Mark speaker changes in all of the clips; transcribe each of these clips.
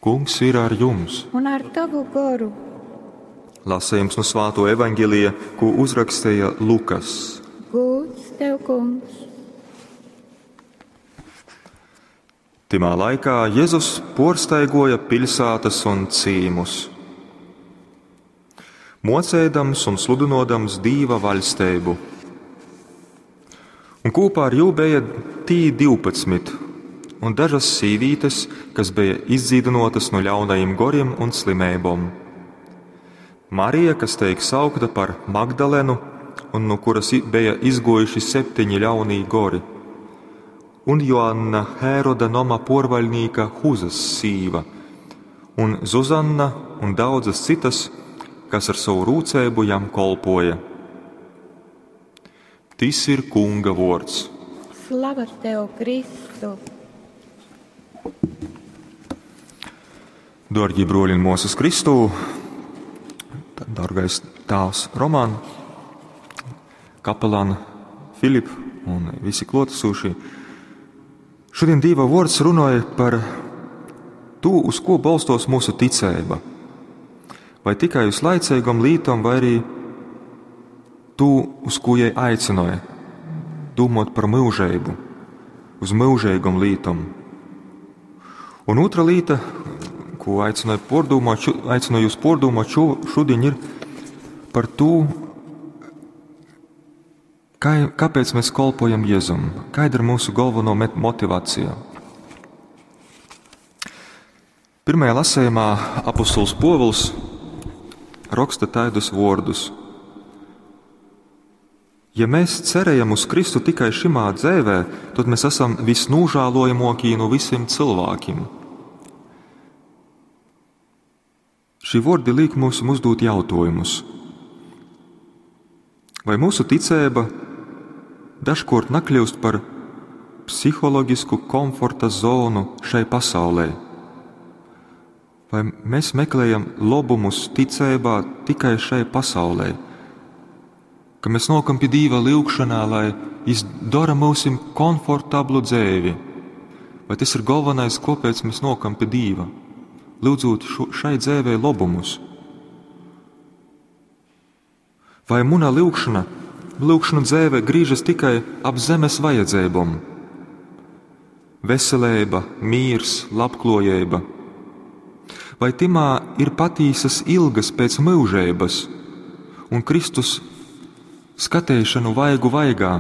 Speaker 1: Kungs ir ar jums!
Speaker 2: Un ar tavu goru.
Speaker 1: Lasījums no Svāto evaņģēlija, ko uzrakstīja Lukas.
Speaker 2: Gūds tev, kungs!
Speaker 1: Timā laikā Jēzus porstaigoja piļsātas un cīmus, mocēdams un sludinodams Dīva vaļsteibu. Un kopā ar jū bija tī 12 un dažas sīvītes, kas bija izdzīdinotas no ļaunajiem goriem un slimībām. Marija, kas teik saukta par Magdalenu, un no kuras bija izgojuši septiņi ļaunī gori, un Joanna Hēroda noma porvaļnīka Huzas sīva, un Zuzanna un daudzas citas, kas ar savu rūcēbu jam kolpoja. Tis ir Kunga vords.
Speaker 2: Slava tev, Kristu!
Speaker 1: Dārgie broļi un māsas Kristū, dārgais tēvs Roman, kapelāna Filip un visi klātesošie. Šodien Dieva vārds runāja par to, uz ko balstos mūsu ticība. Vai tikai uz laicīgam lītam, vai arī to, uz ko jai aicināja, domāt par mūžību, uz mūžīgam lītam. Un otra lieta, ko aicināju pordomāt, aicinu jūs pordomāt šo, šodien, ir par to, kā, kāpēc mēs kolpojam Jēzum, kāda ir mūsu galveno motivācija. Pirmajā lasījumā apostols Povuls raksta tādus vārdus. Ja mēs cerējam uz Kristu tikai šimā dzēvē, tad mēs esam visnožēlojamākie no visiem cilvēkiem. Šī vārdi liek mums uzdot jautājumus. Vai mūsu ticība dažkārt nekļūst par psiholoģisku komforta zonu šai pasaulē? Vai mēs meklējam labumus ticībā tikai šai pasaulē? Ka mēs nokam pie Dīva lūgšanā, lai izdara mūsim komfortablu dzēvi. Vai tas ir galvenais, kāpēc mēs nokam pie Dīva? Lūdzot šo, šai dzēvei labumus. Vai muna lūgšana, lūgšana dzēve grīžas tikai ap zemes vajadzībām? Veselība, mīrs, labklājība. Vai timā ir patīsas ilgas pēc mūžības un Kristus skatēšanu vaigu vaigā?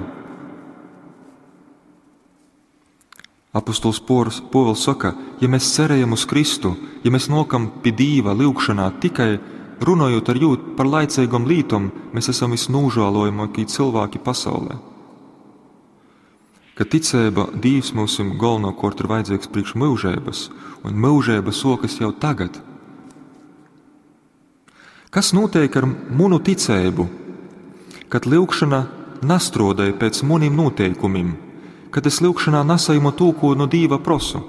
Speaker 1: Apostols Pāvils saka, ja mēs cerējam uz Kristu, ja mēs nokam pie Dīva lūgšanā tikai runājot ar jūt par laicīgam lītom, mēs esam visnožēlojamākie cilvēki pasaulē. Ka ticība Dīvs mums galvenokārt ir vajadzīgs priekš mūžības, un mūžība sokas jau tagad. Kas notiek ar munu ticību, kad lūgšana nastrodēja pēc muniem noteikumiem, kad es lūgšanā nesaimu to, ko no Dīva prosu?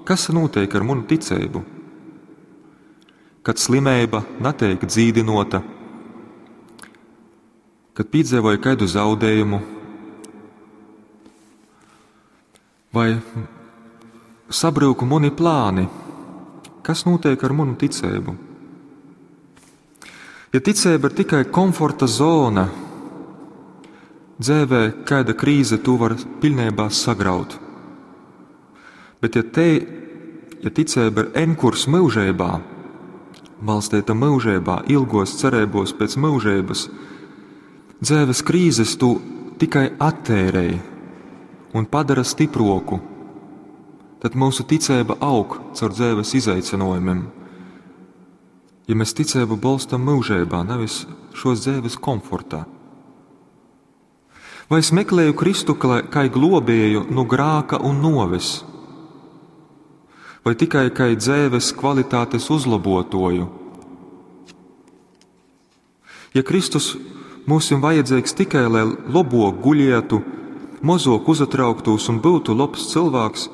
Speaker 1: Kas notiek ar munu ticību? Kad slimība netiek dzīdinota, kad piedzīvoju kādu zaudējumu, vai sabruku muni plāni, kas notiek ar manu ticību? Ja ticība ir tikai komforta zona, dzēvē kāda krīze to var pilnībā sagraut. Bet ja, te, ja ticība ir enkurs mūžībā, balstīta mūžībā, ilgos cerībos pēc mūžības, dzēves krīzes tu tikai attērēji un padara stiproku, tad mūsu ticība aug caur dzēves izaicinājumiem. Ja mēs ticību balstam mūžībā, nevis šos dzēves komfortā. Vai es meklēju Kristu kā globēju no grāka un noves, vai tikai kā dzēves kvalitātes uzlabotoju? Ja Kristus mums ir vajadzīgs tikai, lai labok guļietu, mozok uzatrauktos un būtu labs cilvēks,